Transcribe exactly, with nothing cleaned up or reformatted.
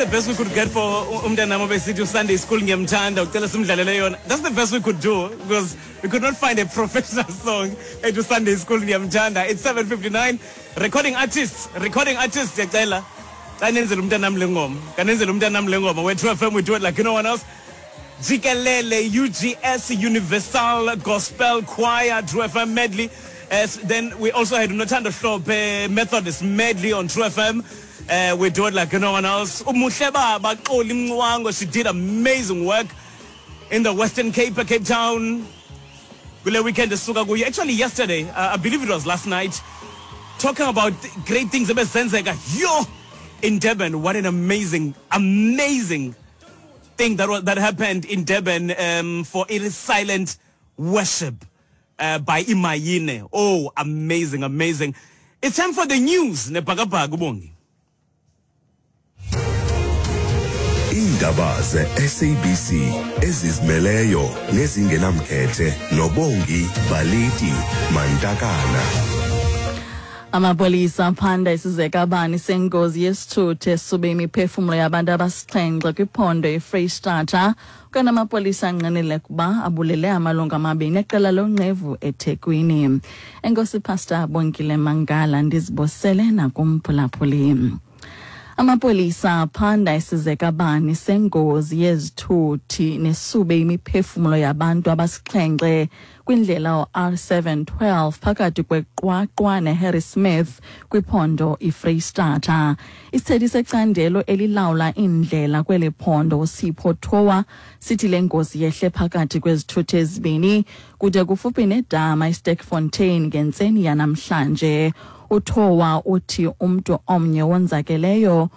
the best we could get for umntanam obesithi Sunday school ngiyamthanda ucela simdlalele yona. That's the best we could do because we could not find a professional song ethi Sunday school ngiyamthanda. It's seven fifty-nine. Recording artists, recording artists, siyacela. Xa nenzela umntanam le ngoma. Kanenzela umntanam le ngoma. We're True F M, we do it like no one else. Jikelele U G S Universal Gospel Choir, True F M medley. As then we also had Nothando Hlophe Methodist medley on True F M. Uh, we do it like no one else. Umuhle Baba Xoli Mncwango, she did amazing work in the Western Cape, Cape Town. Kule weekend esuka kuyo. Actually yesterday, uh, I believe it was last night, talking about great things ebezenzeka yo in Durban. What an amazing, amazing thing that was, that happened in Durban um, for It Is Silent Worship uh, by Imayine. Oh, amazing, amazing. It's time for the news. Nebhakabhaka uBongi. Iindaba ze-S A B C ezizimeleyo nezingenamkhethe noBongi Baliti Mantakana. Amapolisa aphanda isizekabani sengozi yesithuthi esube imiphefumlo yabantu abasixhenxe kwiphondo iFreyistata. Kanti amapolisa angqinile ukuba abulele amalungu amabini eqela lonqevu eThekwini. Enkosi, Pastor Bonkile Mangala, ndizibosele nakumphulaphuli. Amapolisa aphanda isizekabani sengozi yezithuthi nesube imiphefumlo yabantu abasixhenxe kwindlela u-R seven twelve phakathi kweQwaqwa neHarrismith kwiphondo iFreyistata. Isithethi secandelo elilawula iindlela kweli phondo, uSipho Towa, sithi le ngozi yehle phakathi kwezithuthi ezibini kude kufuphi nedama iSterkfontein ngentseni yanamhlanje. UTowa uthi umntu omnye wonzakeleyo.